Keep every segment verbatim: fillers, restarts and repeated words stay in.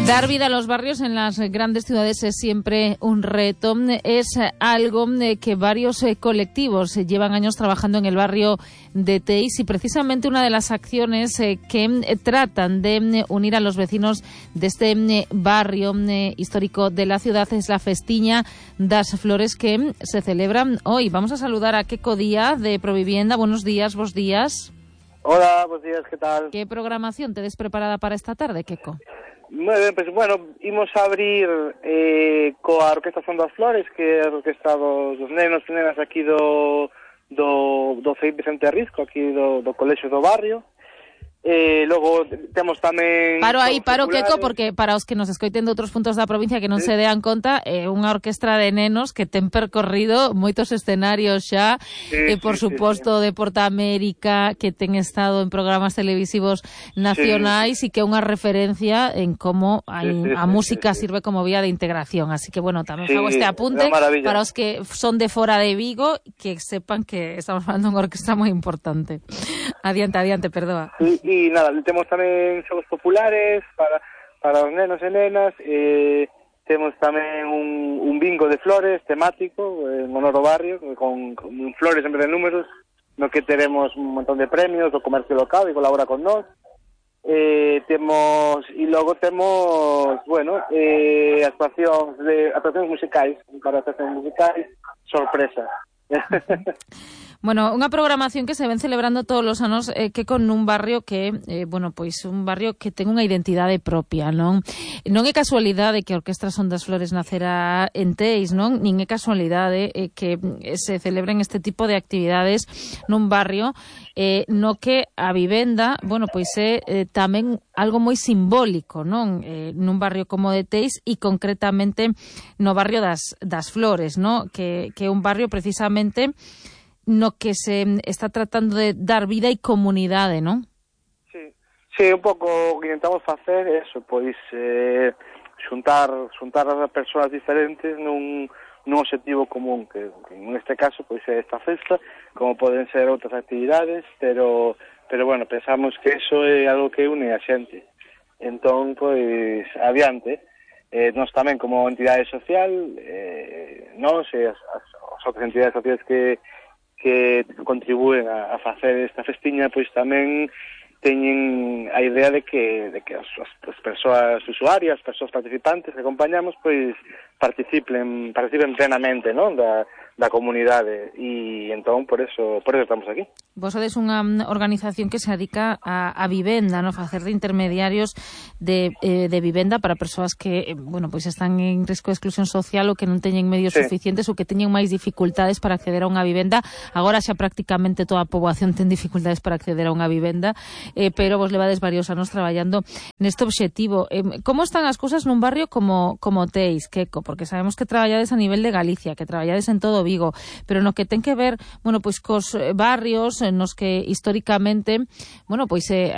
Dar vida a los barrios en las grandes ciudades es siempre un reto. Es algo que varios colectivos llevan años trabajando en el barrio de Teis y precisamente una de las acciones que tratan de unir a los vecinos de este barrio histórico de la ciudad es la Festiña das Flores que se celebra hoy. Vamos a saludar a Queco Díaz de Provivienda. Buenos días, vos días. Hola, buenos días, ¿qué tal? ¿Qué programación tedes preparada para esta tarde, Queco? Moi ben, pois, bueno, imos a abrir eh, coa Orquesta Son das Flores, que é a orquesta dos, dos nenos e nenas aquí do, do, do Felipe Vicente Risco, aquí do, do colexio do barrio. Eh, logo temos tamén... Paro aí, paro, Queco, porque para os que nos escoiten de outros puntos da provincia que non sí. se dean conta, é eh, unha orquestra de nenos que ten percorrido moitos escenarios xa, sí, e eh, por sí, suposto sí, sí. de Porta América, que ten estado en programas televisivos nacionais sí. e que é unha referencia en como a, sí, sí, a música sí, sí. sirve como vía de integración. Así que, bueno, tamén sí, fago este apunte para os que son de fora de Vigo, que sepan que estamos falando de unha orquestra moi importante. Adiante, adiante, perdoa. Sí, e nada, temos tamén xogos populares para, para os nenos e nenas, eh, temos tamén un, un bingo de flores temático en honor ao barrio, con, con flores en vez de números, no que teremos un montón de premios do comercio local e colabora con nós. Eh, temos, e logo temos, bueno, eh, actuacións de actuacións musicais, para actuacións musicais, sorpresa. Bueno, unha programación que se ven celebrando todos os anos eh, que con un barrio que, eh, bueno, pois un barrio que ten unha identidade propia, non? Non é casualidade que a Orquestra Son das Flores nacerá en Teis, non? Nin é casualidade eh, que se celebren este tipo de actividades nun barrio eh, no que a vivenda, bueno, pois é eh, tamén algo moi simbólico, non? Eh, nun barrio como de Teis e concretamente no barrio das, das Flores, non? Que, que é un barrio precisamente no que se está tratando de dar vida e comunidade, non? Sí, sí, un pouco o que intentamos facer é eso, pois eh, xuntar, xuntar as persoas diferentes nun, nun objetivo común, que, que en este caso pois é esta festa, como poden ser outras actividades, pero, pero bueno, pensamos que eso é algo que une a xente. Entón, pois, adiante. Eh, nós tamén como entidade social, eh, nós e as, as, as outras entidades sociais que que contribúen a, a facer esta festiña, pois tamén teñen a idea de que, de que as, as persoas usuarias, as persoas participantes que acompañamos, pois participen, participen plenamente, non, da, da comunidade, e entón por eso, por eso estamos aquí. Vos sodes unha organización que se dedica a, a vivenda, non, facer de intermediarios de, eh, de vivenda para persoas que, eh, bueno, pois están en risco de exclusión social ou que non teñen medios sí. suficientes ou que teñen máis dificultades para acceder a unha vivenda. Agora xa prácticamente toda a poboación ten dificultades para acceder a unha vivenda, eh, pero vos levades varios anos traballando neste obxectivo. Eh, como están as cousas nun barrio como, como Teis, Queco? Porque sabemos que traballades a nivel de Galicia, que traballades en todo Vigo, pero no que ten que ver, bueno, pois cos barrios nos que históricamente, bueno, pois eh,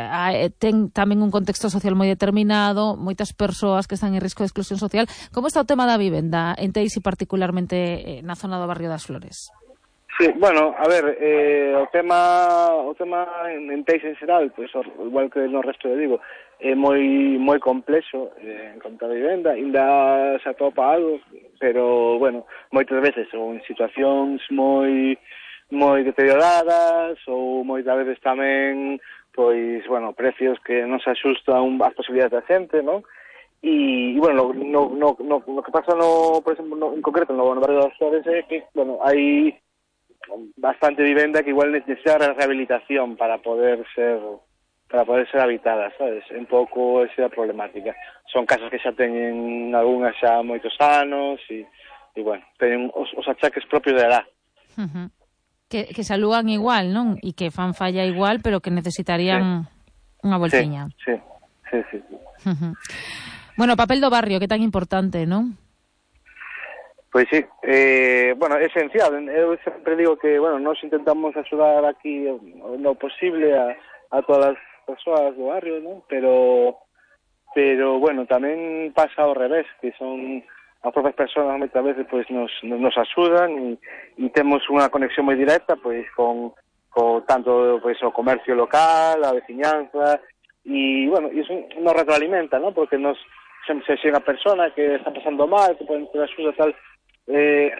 ten tamén un contexto social moi determinado, moitas persoas que están en risco de exclusión social. Como está o tema da vivenda en Teis e particularmente eh, na zona do barrio das Flores? Sí, bueno, a ver, eh, o tema o tema en, en Teis en xeral, pois igual que no resto de Vigo, é moi moi complexo eh, en conta a vivenda, ainda se atopa algo, pero, bueno, moitas veces ou en situacións moi moi deterioradas ou moitas veces tamén, pois, bueno, precios que non se axustan ás posibilidades da xente, non? E, e bueno, no, no, no, no que pasa no, por exemplo, no, en concreto no, no barrio das Flores é que, bueno, hai bastante vivenda que igual necesita rehabilitación para poder ser para poder ser habitada, sabes? Un pouco esa problemática. Son casas que xa teñen algunhas xa moitos anos e, e bueno, teñen os, os achaques propios da edad. Uh-huh. Que, que saludan igual, non? E que fan falla igual, pero que necesitarían sí. unha voltiña. Sí, sí, sí. sí. Uh-huh. Bueno, o papel do barrio, que tan importante, non? Pois sí, eh, bueno, é esencial. Eu sempre digo que, bueno, nós intentamos axudar aquí no posible a, a todas as persoas do barrio, non? Pero, pero, bueno, tamén pasa ao revés, que son as propias persoas moitas veces pois nos, nos axudan e, e temos unha conexión moi directa pois con, con tanto pois o comercio local, a veciñanza e, bueno, iso nos retroalimenta, ¿no? Porque nos se xe unha persona que está pasando mal, que pode ter axuda tal, eh,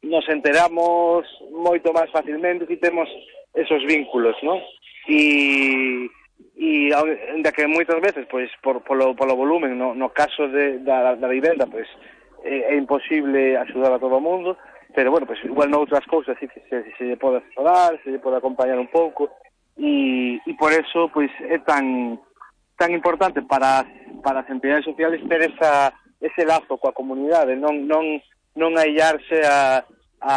nos enteramos moito máis facilmente si temos esos vínculos, non? E, e ainda que moitas veces, pois, por, polo, polo volumen, no, no caso de, da, da vivenda, pois, é, é imposible axudar a todo o mundo, pero, bueno, pois, igual noutras cousas, sí, que se, se lle pode asesorar, se lle pode acompañar un pouco, e, e por eso, pois, é tan tan importante para, para as entidades sociales ter esa, ese lazo coa comunidade, non, non, non aillarse a, a,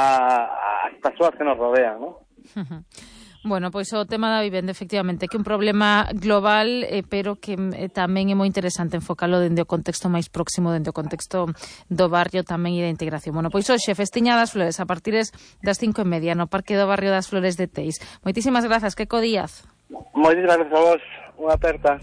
as persoas que nos rodean, non? Bueno, pois o tema da vivenda, efectivamente, que é un problema global, eh, pero que eh, tamén é moi interesante enfocalo dende o contexto máis próximo, dende o contexto do barrio tamén e da integración. Bueno, pois hoxe, Festiña das Flores, a partir das cinco e media, no Parque do Barrio das Flores de Teis. Moitísimas grazas, Queco Díaz. Moitísimas grazas a vos, unha aperta.